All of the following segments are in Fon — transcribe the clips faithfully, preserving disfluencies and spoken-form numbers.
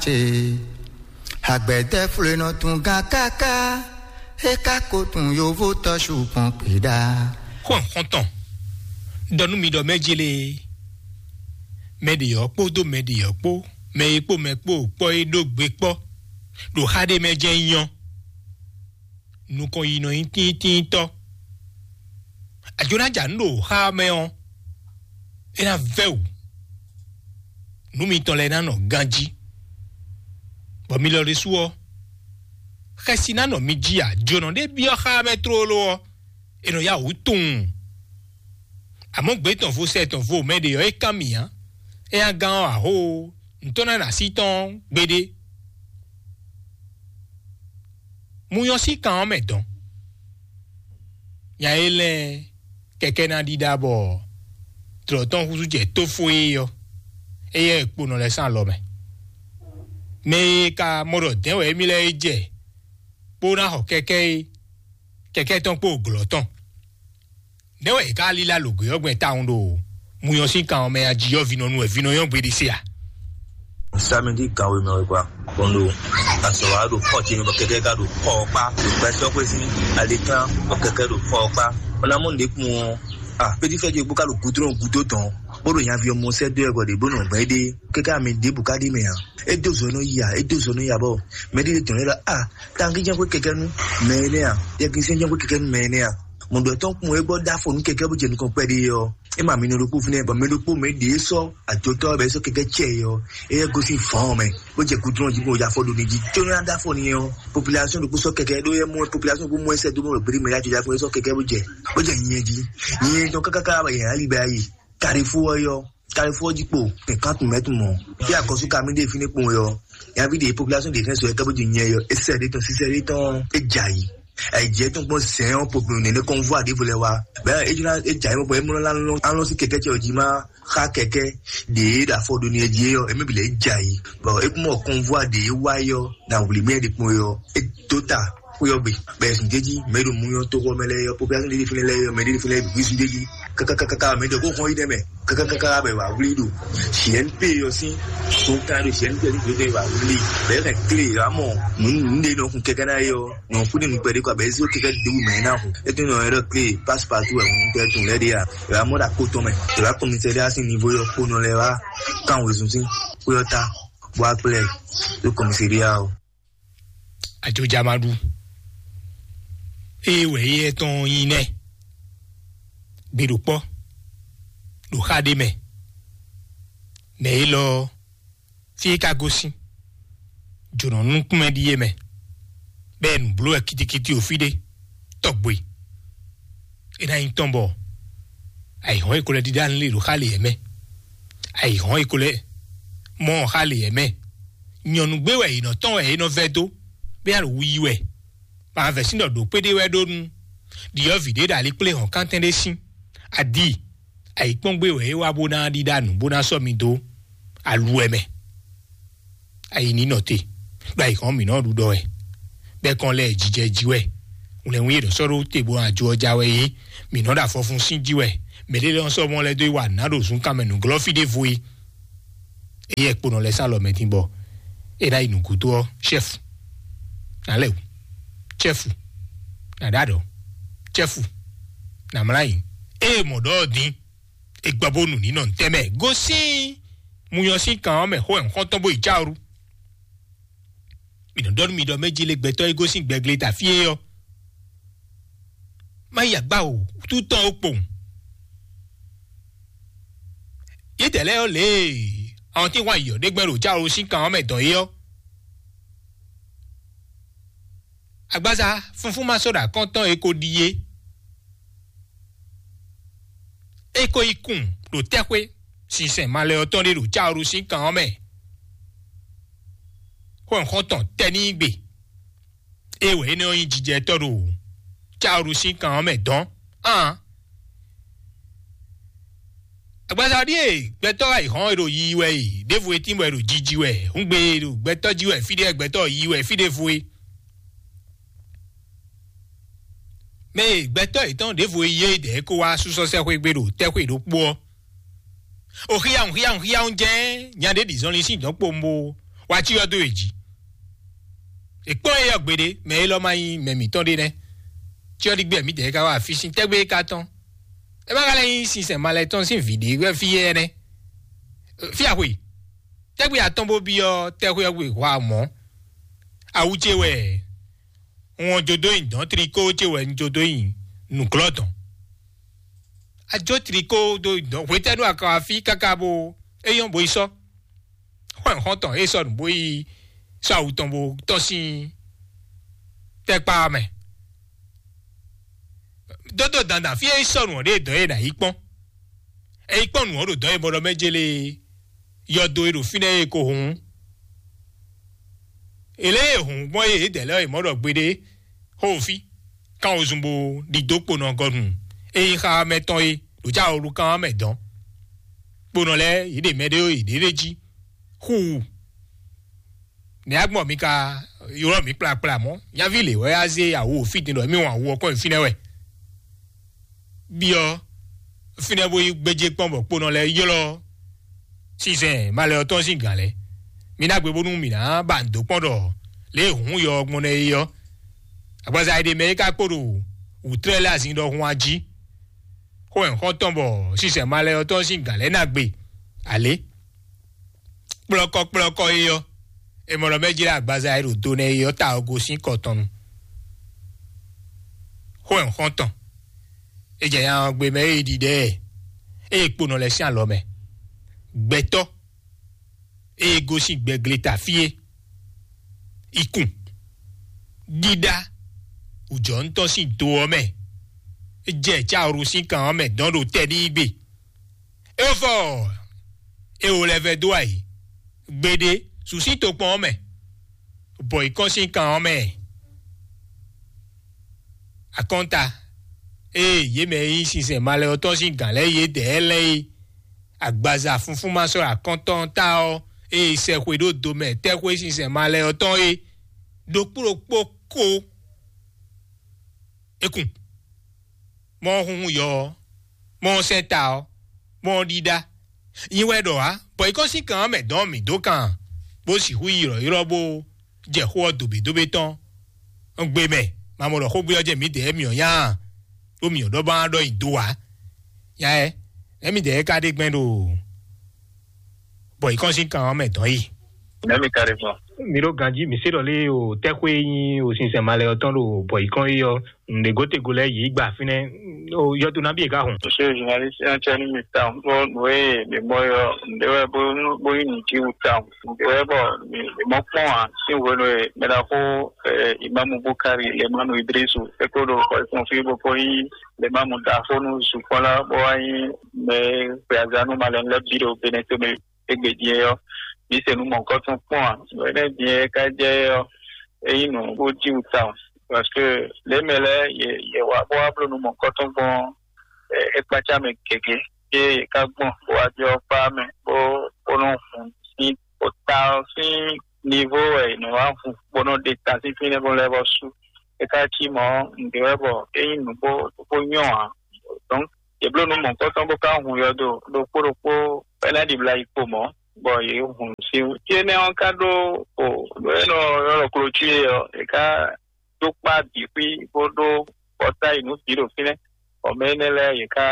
ce. Agbɛdɛflónɔ tún gán káká, é ka ko tún yovó tɔ́ ṣu gbɔn kpiɖa. Xɔn xɔntɔn, ɖɔ nú mi ɖɔ mɛ jele, mɛ ɖě ɔ́ kpódó mɛ ɖě ɔ́ kpó, mɛ e kpó mɛ kpó kpɔ́ é ɖó gbe kpɔ́, ɖo xá ɖé mɛ jɛ́n nyɔ́. Nukɔn yi nɔ nyí tíntínntɔ́. Ajo ná ja nǔ ɖo xá mɛ ɔ́, é ná vɛ́ wǔ. Nǔ mitɔn lɛ́ɛ ná nɔ ganjí, bɔ mi lɔ ɖésú ɔ́, xɛsi ná nɔ mi jí ǎ. Jǒnɔ ɖé byɔ́ xá mɛ tlóló ɔ́, è nɔ yá wǔ tunwun. Amɔ̌ gbě tɔn vo sɛ tɔn vo mɛ ɖě ɔ́, é kán mì ǎ. É nya gán ɔ́ ǎ hó, nǔ tɔn ná nɔ así tɔn gbeɖé. Mu nyɔ́ sín kan ɔ́ mɛ dɔn. Nya e lɛ́ɛ kɛkɛ́ ná ɖíɖá bɔ tlɔ̌ tɔn húzú jɛ tófó é ɔ́, éyɛ́ e kponɔ lɛ́ɛ sín alɔ mɛ. Mɛ e ka mɔ ɖɔ dɛ̌n wɛ émí lɛ́ɛ é jɛ kpó ná xɔ kɛkɛ́ é, kɛkɛ́ tɔn kpó glɔ̌ tɔn. Nɛ̌ wɛ è ká lílá lǒ gbé ɔ́ gbɛn tawun ɖo muyɔn sín kan ɔ́ mɛ a? Jiyɔ́ vinɔ nu wɛ vinɔ nyɔ́ gbeɖé se a? Samedi kan wěmɛ wɛ gba kɔn ɖo azɔ̌ wa ɖo xɔ ce mɛ bɔ kɛkɛ ka ɖo xɔ ɔ́ kpá ɖo gbɛsɔ́xwé sín alikan bɔ kɛkɛ ɖo xɔ ɔ́ kpá. Ɔ́ ná mɔ nǔɖé kpɔn ɔ́, a pédífɛ́ ce bó ka ɖo gudrɔn gúdo tɔn bó ɖo nyaví ɔmɔ sɛ́ dó ɛ bɔ ɖě bó nɔ gbɛn é ɖe kɛkɛ amɛ ɖěbǔ ka ɖi mɛ ǎ. É dó zɔ nɔ yi a é dó zɔ nɔ yi a bɔ mɛ ɖé tɔn lɛ la a tangíjɛn xwé kɛkɛ nú mɛ énɛ́ a yɛkínsɛn jɛn xwé kɛkɛ nú mɛ énɛ́ a mɔ̌ ɖɔ tɔn kún é gbɔ ɖó afɔ nú kɛkɛ bó jɛ nukɔn kpɛɖé ɔ́. É ma mi nɔ ɖokpó fínɛ́ bɔ mɛ ɖokpó mɛ ɖě sɔ́ ajotɔ́ bɛ sɔ́ kɛkɛ cɛ ɔ́, é yɛ gosín fɔ̌n mɛ bó jɛ kudrɔn jí bó ya fɔ ɖo ní jí tó nyɔ́ dó afɔ ní ɔ́. Population ɖokpó sɔ́ kɛkɛ ɖó yɛ mɔ population bó mɔ ɛsɛ dó mɔ ɖo gbéɖé mɛ yá jɔjá fún é sɔ́ kɛkɛ bó jɛ bó jɛ nyɛ jí. Nyɛ tɔn káká ká bɛ yɛ ali bɛ ayi. Carrefour ɔ́ yɔ, Carrefour jí kpo kɛkán tún mɛ tún mɔ. Bí akɔsú kamídé fínɛ́ kpo yɔ, yaví ɖe population ɖe fɛn sɔ yɛ kábòjì nyɛ yɔ, esɛ ɖe tɔn sísɛ ɖe tɔn é dza yi. Ayidjɛ tɔn kpɔn zɛn ɔ́ popolo nɛnɛ kɔn vɔ aɖevo lɛ wa. Bɛ é juna é dza yi mɔ bɔ é mlɔ la lɔn alɔn sí kɛkɛ cɛ ɔ́ jí má xa kɛkɛ ɖe é ɖo afɔ ɖo ni ɛ jí é yɔ, é mɛ bi lɛ é dza yi. Bɔ é kún mɔ kɔn vɔ aɖe é wa yɔ na wuli mɛ ɖe kpɔn yɔ, é dó ta xwé ɔ́ gbe. Bɛ zun jɛji mɛ ɖo mu yɔ toxɔ mɛ lɛ yɔ population ɖe fɛnɛ lɛ yɔ mɛ ɖe fɛnɛ bi zun jɛji kakakaka mɛ ɖe ko xɔn yi ɖe mɛ kakakaka bɛ wa wuli ɖo G N P yɔ sin to kan ɖo G N P yɔ sin to wa wuli bɛ ka kle yɔ amɔ nu nu ɖe nɔ kun kɛkɛ na yɔ nɔ kun ne nu kpɛ de kɔ bɛ zo kɛkɛ de wu mɛ na kun e tun nɔ yɔ kle passe partout wɛ kun tɛ tun lɛ de ya yɔ amɔ da ko tɔn mɛ yɔ commissariat sin niveau yɔ ko nɔ lɛ wa kan wezun sin ko yɔ ta bɔ akplɛ yo commissariat o. Ajojamaɖu. Ée wɛ éyɛ́ tɔn nyí nɛ́. Gbe ɖo kpɔ́, ɖo xá ɖé mɛ. Nɛ̌ élɔ́ ɔ́, fí é ka gosín, jǒnɔ nukúnmɛ ɖíe mɛ, bɔ é nǔ bló wɛ kitikiti o fí ɖé, tɔgbe. É ná nyí tɔn bɔ ayǐhɔ́n e ko lɛ́ ɖíɖá nlé ɖo xá lě mɛ, ayǐhɔ́n e ko lɛ́ mɔ xá lě mɛ, nyɔ̌nu gbé wɛ è nɔ tɔ́n wɛ é nɔ vɛ́ dó, bó ná ɖo wu yi wɛ. Bɔ avɛ̌ sín ɖɔ ɖǒ kpéɖé wɛ ɖó nú ɖyɔ̌vǐ ɖé ɖo alikpléhɔ̌nkántɛn ɖé sín. Adi, ayǐkpɔ́ngbé wɛ é wá bó ná ɖíɖá nǔ bó ná sɔ́ mi dó aluwɛ mɛ. Ayi ní nɔ te, ɖo ayǐhɔ́n mǐ nɔ ɖu ɖɔ wɛ, bɔ é kɔn lɛ jijɛ jí wɛ. Wlɛ̌nwí e nɔ sɔ́ ɖó te bó ná jó ɔ́ já wɛ é, mǐ nɔ ɖo afɔfun sín jí wɛ. Mɛ̌ ɖé lɔ sɔ́ mɔ lɛ́ dó yi wa nǔ ná ɖo zunkan mɛ nǔglɔ́ fí ɖěvo é. Éyɛ́ kponɔ lɛ́ɛ sán alɔ mɛ din bɔ é ná yi nǔgúdo ɔ́, chɛ́fu ná lɛ wǔ, chɛ́fu ná ɖo aɖɔ̌, chɛ́fu ná mlá yi. Ée mɔ̌ ɖɔ ɔ́ din, é gbɔ bónú ní nɔ ntɛ́ mɛ gosín munyɔ sín kan ɔ́ mɛ xó ɛ xɔ́ntɔn bó yi cáoɖu. Mi nɔ ɖɔ nú mi ɖɔ mɛ jí lé gbɛtɔ́ e gosín gbɛgle ta fí é ɔ́, má yi agbá o, wútu tɔn ó kpowun. Yětɛ̌ lɛ́ɛ ɔ́ lě e awɔntín hwan yiyɔ̌ ɖé gbɛn ɖo cáo sín kan ɔ́ mɛ dɔn é ɔ́, agbaza funfún ma sɔ́ ɖo akɔ́n tɔn e ko ɖi é. É ko yi kun ɖo tɛ́xwé sinsɛn malɛ ɔ́ tɔn ɖé ɖo cáo sín kan ɔ́ mɛ. Xɔ́nxɔ́n tɔn tɛ ní gbe. É wɛ énɛ́ ɔ́ nyí jijɛtɔ́ ɖo cáoɖu sín kan ɔ́ mɛ dɔn. Aan. Agbaza ɖíe gbɛtɔ́ ayǐhɔ́n e ɖo yiyi wɛ e, ɖěvo e tín bɔ è ɖo jiji wɛ, hǔngbe e ɖo gbɛtɔ́ jí wɛ fí ɖé wɛ gbɛtɔ́ yiyi wɛ fí ɖěvo e. Mɛ e gbɛtɔ́ yětɔn ɖěvo e yí é dɛ̌ é kó wá súsɔ́ sɛ́xwé gbe ɖo tɛ́xwé ɖokpó ɔ́. O xíyáhùn xíyáhùn xíyáhùn jɛ́n nya ɖé ɖi zɔnlin sín dɔ̌nkpowun bó wá cyɔ dó yě jí. È kpɔ́n éyɛ́ gbeɖé, mɛ élɔ́ ma nyí mɛ mǐtɔn ɖé nɛ́. Cyɔ ɖi gbé mǐdɛɛ ka wá afí sín tɛ́gbé é ka tɔ́n. É má ka lɛ́ nyí sinsɛn malɛ tɔn sín vǐ ɖé wɛ fí éyɛ́ nɛ́. Fí axwe, tɛ́gbé atɔ́n bó byɔ́ tɛ́xwé ɔ́ gbe hwa mɔ̌. Awu ce wɛ un wɔn jó dó nyi dɔ̌n, trikó ce wɛ un jó dó nyi nǔglɔ́ dɔ̌n. A jó trikó dó nyi dɔ̌n, hwetɛ́nu a ka wá fí káká bó é nyɔ́ bó yi sɔ́. Xɔ́nyɔ́xɔ́ntɔn e sɔ́ nǔ bó yi sɔ́ awu tɔn bó tɔ́n sín tɛ́kpá ɔ́ mɛ. Dódó dandan fí e sɔ́ nǔ ɔ́ ɖe dɔ̌n e nǎ yi kpɔ́n. É yi kpɔ́n nǔ ɔ́ ɖo dɔ̌n e mɔ ɖɔ mɛ jélé yɔdo e ɖo fínɛ́ e ko hǔn. Èlé e hǔn gbɔn e yědɛɛ lɛ́ɛ e mɔ ɖɔ gbeɖé xó fí, kán wozun bó ɖidó kponɔ gɔnu e nyí xá mɛ tɔn é ɖo já wolu kán mɛ dɔn. Kponɔ lɛ́ɛ yě ɖe mɛ ɖé yě ɖe jí xú wú. Nɛ̌ agbɔn mi ka ylɔ́ mǐ kplakpla mɔ̌? Nyaví lě wɛ á zé awu fí din ɖɔ émí wɔn awu ɔ́ kɔn nyi fínɛ́ wɛ. Byɔ́ fínɛ́ bó yi gbéjé kpɔ́n bɔ kponɔ lɛ́ɛ ylɔ́ sinsɛn malɛ ɔ́ tɔn sín gǎn lɛ́ɛ. Mi ná gbe bónú mǐ ná ba nǔ dó kpɔ́n ɖɔ lě e hǔn yɔ ɔ́ gbɔn nɛ́ é ɔ́, agbaza e ɖe mɛ é ka kpo ɖo wǔtlɛ́ lɛ́ɛ azin ɖɔhun a jí. Xó wɛ xɔ́ntɔn bɔ sinsɛn malɛ ɔ́ tɔn sín gǎn lɛ́ɛ ná gbe alě. Kplɔ́kɔ́kplɔ́kɔ́ é ɔ́, è mɔ ɖɔ mɛ jlá agbaza e ɖo do nɛ é ɔ́ ta ɔ́ gosín kɔ tɔn nu. Xó wɛ xɔ́ntɔn. É jɛ nya ɔ́ gbe mɛ é ɖiɖɛ ɛ, ée kponɔ lɛ́ɛ sín alɔ mɛ. Gbɛtɔ́ ée gosín gbɛgleta fí é, ikun, ɖíɖá, wǔjɔnútɔn sín do ɔ́ mɛ, é jɛ cáwuru sín kan ɔ́ mɛ dɔn ɖo tɛ n'i gbe. É fɔ é wo lɛ́ vɛ́ dó ayǐ gbeɖé su sín tokpɔn ɔ́ mɛ, bɔ yi kɔn sín kan ɔ́ mɛ. Akɔnta, ée yě mɛ e nyí sinsɛn malɛ ɔ́ tɔn sín gǎn lɛ́ɛ yědɛɛ lɛ́ɛ é, agbaza funfún ma sɔ́ akɔntɔn ta ɔ́, ée sɛxwe ɖó do mɛ tɛ́xwé sinsɛn malɛ ɔ́ tɔn é, ɖokpó ɖokpó ko é kun. Mɔ ɔ́ hunhun yɔ ɔ́, mɔ ɔ́ sɛ́ ta ɔ́, mɔ ɔ́ ɖíɖá. Nyi wɛ ɖɔ ǎ, bɔ yi kɔn sín kan ɔ́ mɛ dɔn mǐ dó kan, bó sixú yi ylɔ̌ylɔ́ bó jɛ xó ɔ́ dobědobě tɔn. Un gbe mɛ, ma mɔ ɖɔ xógbé ɔ́ jɛ mǐdɛɛ mǐ ɔ́ nya a? Ɖó mǐ ɔ́ ɖɔ bá ɖɔ nyi do ǎ. Nya ɛ, nɛ̌ mǐdɛɛ ka ɖe gbɛn ɖo bɔ yi kɔn sín kan ɔ́ mɛ dɔn yi? Nɛ̌ mi ka ɖe gbɔn? Mi ɖo ganjí, mi se ɖɔ lé o tɛ́xwé e nyí o sinsɛn malɛ ɔ́ tɔn ɖo bɔ yi kɔn yi ɔ́, nǔɖé gotego lɛ́ɛ yě yi gba fínɛ́. O yɔdo nabí e ka hɔn? Monsieur le journaliste, un tiens une mi tawun. Bon, oui, mais moi, euh, nde wɛ bo bo yi ni ti wu tawun. Nde wɛ bɔ mi mi mɔ kpɔn a si wo no e mɛ da ko eh, Imam Bukari, le Imam Idrisu, e ko do ko fun fi bo ko yi le Imam da ko nu su ko la bo wa yi me pe azanu malen le bi do bene to me egbe die yo. Mi se nu mɔ ko tun kpɔn a. Wene die ka je yo. E yi nu bo ti wu tawun. Parce que le mele ye ye wa bo wa blo nu mɔ ko tun gbɔn e kpatsa mɛ gěgé, eye yě ká gbɔn bó wá byɔ́ kpá mɛ bó bó nɔ́ hun sín bó ta ɔ́ sín nivo wɛ è nɔ wá hun bó nɔ́ ɖe ta sín fínɛ́ bó lɛ́ vɔ sú. É ká cí mɔ̌, nǔɖé wɛ bɔ é nyí nǔ bó bó nyɔ́ ǎ. Donc, yě bló nǔ mɔ̌hunkɔtɔn bó ká hun yɔdo ɖokpó ɖokpó bɔ é ná ɖibla yi kpo mɔ̌, bɔ yě hun sín. Fí énɛ́ ɔ́ ká ɖó o nǔ e nɔ ylɔ́ klocíe ɔ́, é ká dó kpá bǐ xwí bó ɖó kɔta yi nǔ bǐ ɖo fínɛ́. Bɔ mɛ énɛ́ lɛ́ɛ yě ká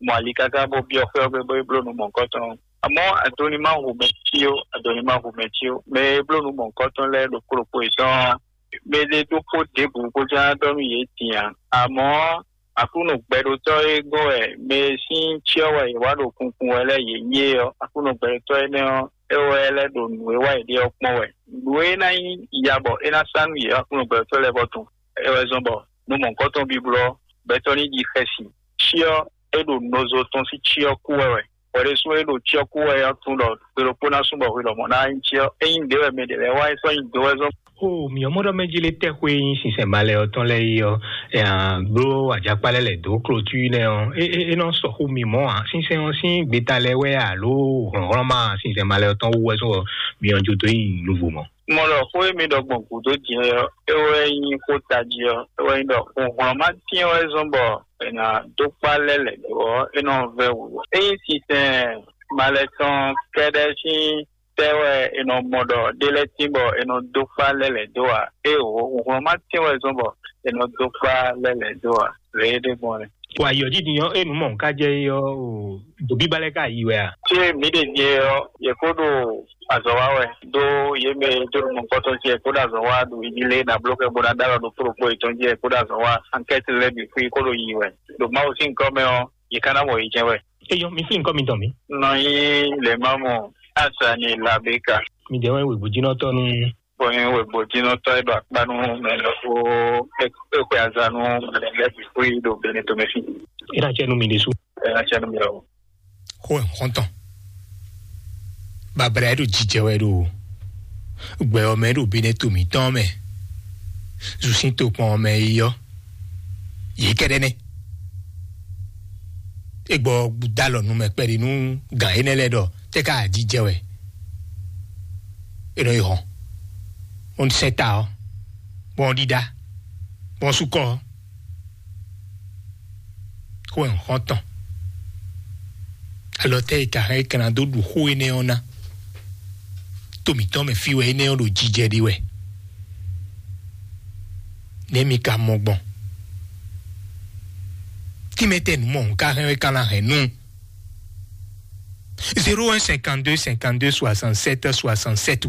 mɔ ali káká bó byɔ́ xwé ɔ́ gbe bó yi bló nǔ mɔ̌hunkɔtɔn. Amɔ̌, adoni ma hu mɛ cí ó, adoni ma hu mɛ cí ó. Mɛ e bló nǔ mɔ̌hunkɔtɔn lɛ́ɛ ɖokpó ɖokpó yětɔn ɔ́, mɛ ɖé ɖokpó ɖěbǔ bó ján ɖɔ nú yě din ǎ. Amɔ̌, Aklúnɔ gbɛɖótɔ́ e gɔ́n wɛ mɛ e sín cyɔ wɛ yě wá ɖo kunkun wɛ lɛ́ɛ yě nyí é ɔ́, Aklúnɔ gbɛɖótɔ́ énɛ́ ɔ́, é wɛ lɛ́ ɖo nǔ e wa yě ɖe ɔ́ kpɔ́n wɛ. Nǔ e ná nyí ya bɔ é ná sá nú yě ɔ́, Aklúnɔ gbɛɖótɔ́ lɛ́ɛ vɔ tunwun. É wɛ zɔ́n bɔ nǔ mɔ̌hunkɔtɔn bíblɔ́ gbɛtɔ́ ní ɖi xɛsi. Cyɔ e ɖo nɔzo tɔn sín cyɔ kú wɛ wɛ. Hwɛ ɖésú e ɖo cyɔ kú wɛ ɔ́ tunwun ɖɔ gbe ɖokpó ná sú bɔ hwi lɔmɔ̌ ná nyí cyɔ. Ényí nǔɖé wɛ mɛ ɖě lɛ́ɛ wa é sɔ́ nyi do wɛ zɔ́n. O mǐ ɔ́ mɔ ɖɔ mɛ jí lé tɛ́xwé e nyí sinsɛn malɛ ɔ́ tɔn lɛ́ɛ é ɔ́, ɛ, bló ajakpá lɛ́ɛ lɛ̌ dó klotúí nɛ́ ɔ́, é, é, é nɔ sɔxú mì mɔ̌ ǎ. Sinsɛn ɔ́ sín gbeta lɛ́ɛ wɛ alo hlɔ̌nhlɔ́n ma sinsɛn malɛ ɔ́ tɔn wú wɛ sɔ́ mì ɔ́ jó dó nyi nǔvo mɔ̌. Mɔ ɖɔ xó e mi ɖɔ gbɔn gǔdo din ɔ́, é wɛ nyí xó tají ɔ́, é wɛ nyí ɖɔ xunhlɔ́n ma tɛ́n wɛ zɔ́n bɔ è nǎ dó kpá lɛ́ lɛ̌ ɖó ɔ́, é nɔ vɛ́ wǔ. Ényí sinsɛn malɛ tɔn kɛ́ɖɛ́ sín Tɛ́ wɛ è nɔ mɔ ɖɔ ɖé lɛ́ɛ tín bɔ è nɔ dó kpá lɛ́ lɛ̌ dó ǎ? Éeǒ, hlɔ̌nhlɔ́n ma tín wɛ zɔ́n bɔ è nɔ dó kpá lɛ́ lɛ̌ dó ǎ. Lě e ɖe gbɔn nɛ́. Wa yɔ dídí ɔ́, enu mɔ nka jɛ é ɔ́, o, ɖo bíbá lɛ́ɛ ka yi wɛ a? Tí mǐ ɖe nyɛ ɔ́, yě kó ɖo azɔ̌ wa wɛ, ɖó yě mɛ e dó nukɔntɔn ce kó ɖo azɔ̌ wa ɖo yi lé ná bló kɛ bó ná ɖó alɔ ɖo kplɔ́kpɔ́ yětɔn ce kó ɖo azɔ̌ wa. Ankɛ́ti lɛ́ɛ bǐ xwí kó ɖo yi wɛ. Ɖo Mawu sín gɔ́ mɛ ɔ́, yě ká ná mɔ yě jɛ́n wɛ. É nyɔ́, mi flín kɔ́ mitɔn mi. Nɔ nyí lě ma mɔ Asani Labeka. Mi dɛ wɛ wěgbójínɔtɔ́ nú. Bɔ nyí wěgbójínɔtɔ́ e ɖo akpá nú mɛ lɔ kó é xwe aza nú mɛ lɛ́ɛ bǐ xwí ɖo Benetomɛfin. É ná cɛ nú mi ɖésú. É ná cɛ nú mi lɔ. Xó ɛ xɔ́ntɔn. Babla e ɖo jijɛ wɛ ɖo gbɛ ɔ́ mɛ ɖo Benɛto mǐtɔn mɛ. Zǔsín tokpɔn ɔ́ mɛ é yí ɔ́, yě kɛ́ɖɛ́ nɛ́. É gbɔ dalɔ nu mɛ kpɛɖi nú gǎn énɛ́ lɛ́ɛ ɖɔ tɛ́ ká jijɛ wɛ. É nɔ yi hɔn. Bɔn sɛn ta ɔ́, bɔn ɖíɖá, bɔn súkɔ ɔ́. Xó ɛ xɔ́ntɔn. Alɔ tɛ́ e ka hɛn é ka ná dó ɖu xó énɛ́ ɔ́ ná? To mǐtɔn mɛ fí wɛ énɛ́ ɔ́ ɖo jijɛ ɖe wɛ. Nɛ̌ mi ka mɔ gbɔn? Tínmɛ tɛ nǔ mɔ un ka hɛn é ka ná hɛn nú? Zéro un cinquante-deux cinquante-deux soixante-sept soixante-sept.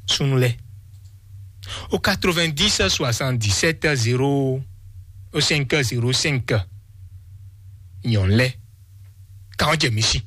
Súnnu lɛ́ɛ. Au quatre-vingt-dix soixante-dix-sept zéro cinq zéro cinq. Nyɔ̌nu lɛ́ɛ. Kan ɔ́ jɛ mi sí.